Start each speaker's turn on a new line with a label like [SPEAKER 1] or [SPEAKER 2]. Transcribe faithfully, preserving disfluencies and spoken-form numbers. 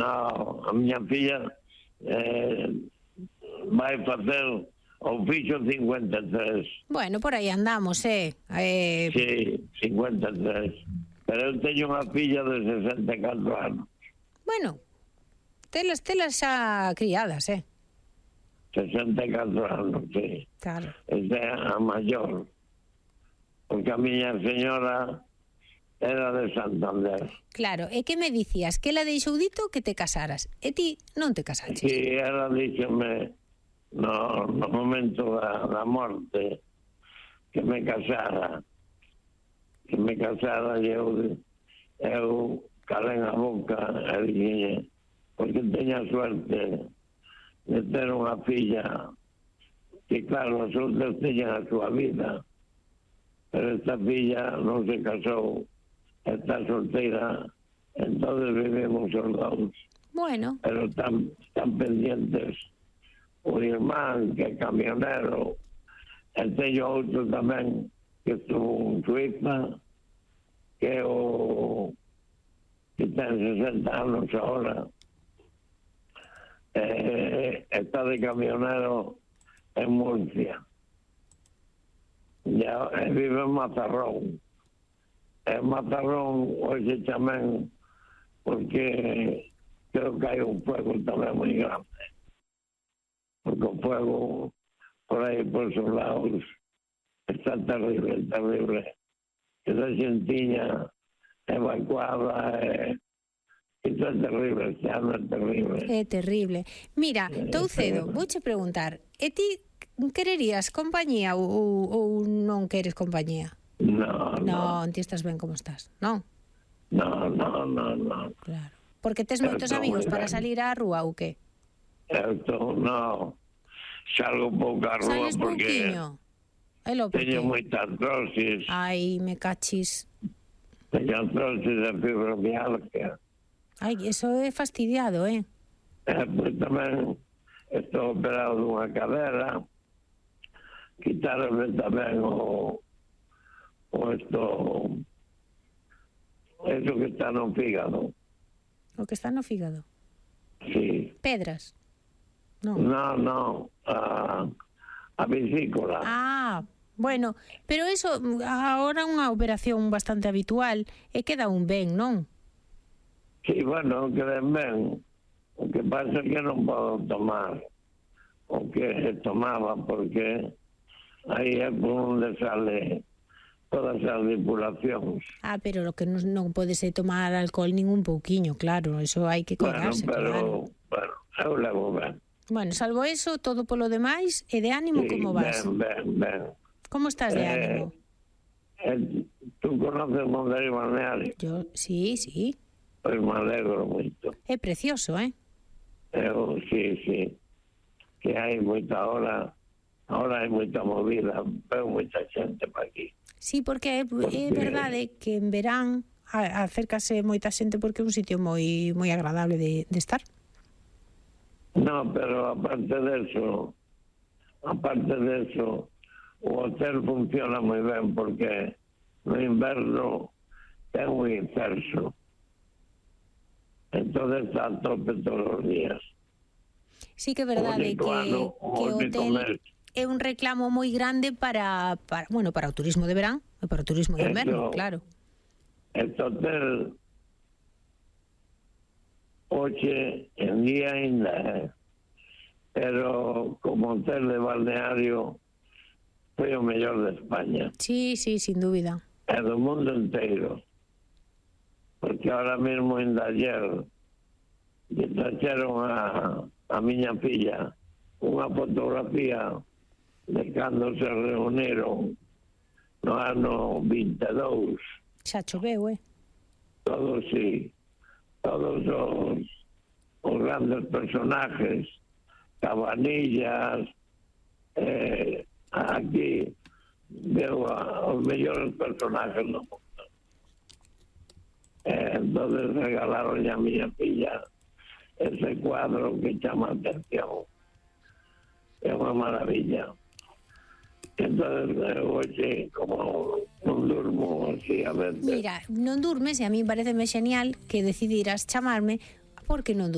[SPEAKER 1] No, a miña filla eh, vai facer o fixo cincuenta e tres.
[SPEAKER 2] Bueno, por aí andamos, eh? eh...
[SPEAKER 1] Sí, cincuenta e tres. Pero eu teño unha filla de sesenta e catro anos.
[SPEAKER 2] Bueno, telas, telas xa criadas, eh?
[SPEAKER 1] sesenta e catro anos, sí.
[SPEAKER 2] Claro.
[SPEAKER 1] Esta é a maior. Porque a miña señora era de Santander.
[SPEAKER 2] Claro, e que me dicías? Que ela deixou dito que te casaras. E ti non te casaches.
[SPEAKER 1] Sí, ela díxeme no, no momento da, da morte que me casara. Que me casara e eu, eu calén a boca e dixen, porque teña suerte de ter unha filla que, claro, os outros teñen a súa vida, pero esta filla non se casou, está solteira, entonces vivimos os dous.
[SPEAKER 2] Bueno.
[SPEAKER 1] Pero están, están pendientes o irmán que é camionero, e teño outro tamén que estuvo en Suiza, que é o que ten sesenta anos ahora, eh, está de camionero en Murcia. Ya, eh, vive en Mazarrón. En Mazarrón hoxe tamén, porque creo que hai un fuego tamén moi grande. Porque o fuego por aí, por esos lados, está terrible, terrible. Esa xentiña evacuada, eh, isto é terrible, este ano é terrible.
[SPEAKER 2] É terrible. Mira, Toucedo, vouche preguntar, e ti quererías compañía ou, ou non queres compañía?
[SPEAKER 1] No, no.
[SPEAKER 2] Non, ti estás ben como estás, non?
[SPEAKER 1] No, no, no, no.
[SPEAKER 2] Claro. Porque tes moitos amigos para salir á rúa ou que?
[SPEAKER 1] Esto, no. Salgo pouco á rúa
[SPEAKER 2] Sales
[SPEAKER 1] porque
[SPEAKER 2] pouquiño? Elo, por
[SPEAKER 1] teño
[SPEAKER 2] qué?
[SPEAKER 1] moita artrosis.
[SPEAKER 2] Ai, me cachis.
[SPEAKER 1] Teño artrosis de fibromialgia.
[SPEAKER 2] Ai, eso é fastidiado, eh?
[SPEAKER 1] Eh, pois tamén estou operado dunha cadera. Quitaronme tamén o o esto eso que está no fígado.
[SPEAKER 2] O que está no fígado?
[SPEAKER 1] Sí.
[SPEAKER 2] Pedras? Non.
[SPEAKER 1] No, no, a, a vesícula.
[SPEAKER 2] Ah, bueno, pero eso agora unha operación bastante habitual e queda un ben, non?
[SPEAKER 1] Sí, bueno, queden ben. O que pasa é que non podo tomar o que tomaba, porque aí é por onde sale todas as depuracións.
[SPEAKER 2] Ah, pero lo que non, non pode ser tomar alcohol ningún pouquiño, claro, eso hai que cuidarse,
[SPEAKER 1] bueno, pero,
[SPEAKER 2] claro.
[SPEAKER 1] Bueno, eu levo ben.
[SPEAKER 2] Bueno, salvo eso, todo polo demais, e de ánimo,
[SPEAKER 1] Sí,
[SPEAKER 2] como vas?
[SPEAKER 1] ben, ben, ben.
[SPEAKER 2] Como estás de
[SPEAKER 1] Eh,
[SPEAKER 2] ánimo?
[SPEAKER 1] Eh, tú conoces Monteiro Balneario?
[SPEAKER 2] Yo, sí, sí.
[SPEAKER 1] Pois me alegro moito.
[SPEAKER 2] É precioso, eh?
[SPEAKER 1] Eu, sí, sí. Que hai moita hora, ahora hai moita movida, veo moita xente para aquí.
[SPEAKER 2] Sí, porque é,
[SPEAKER 1] Porque...
[SPEAKER 2] é verdade que en verán a, acércase moita xente porque é un sitio moi moi agradable de, de estar.
[SPEAKER 1] No, pero aparte de eso, aparte de eso, o hotel funciona moi ben porque no inverno é un inferso. Entonces está a tope todos os días.
[SPEAKER 2] Sí que é verdade que,
[SPEAKER 1] ano,
[SPEAKER 2] que o hotel é un reclamo moi grande para, para, bueno, para o turismo de verán e para o turismo de inverno,
[SPEAKER 1] Esto,
[SPEAKER 2] claro.
[SPEAKER 1] Este hotel hoxe en día ainda é, pero como hotel de balneario foi o mellor de España.
[SPEAKER 2] Sí, sí, sin dúbida.
[SPEAKER 1] É do mundo inteiro. Porque ahora mesmo ainda ayer lle traxeron a, a miña filla unha fotografía de cando se reuniron no ano vinte e dous.
[SPEAKER 2] Xa choveu, eh?
[SPEAKER 1] Todos, sí, todos os, os grandes personajes, Cabanillas, eh, aquí veo a, os mellores personajes do mundo. Eh, entonces regalaron a miña filla ese cuadro que chama a atención. É unha maravilla. Entonces, hoxe, como non durmo así a veces...
[SPEAKER 2] Mira, non durmes e a mí pareceme genial que decidiras chamarme porque non durmes.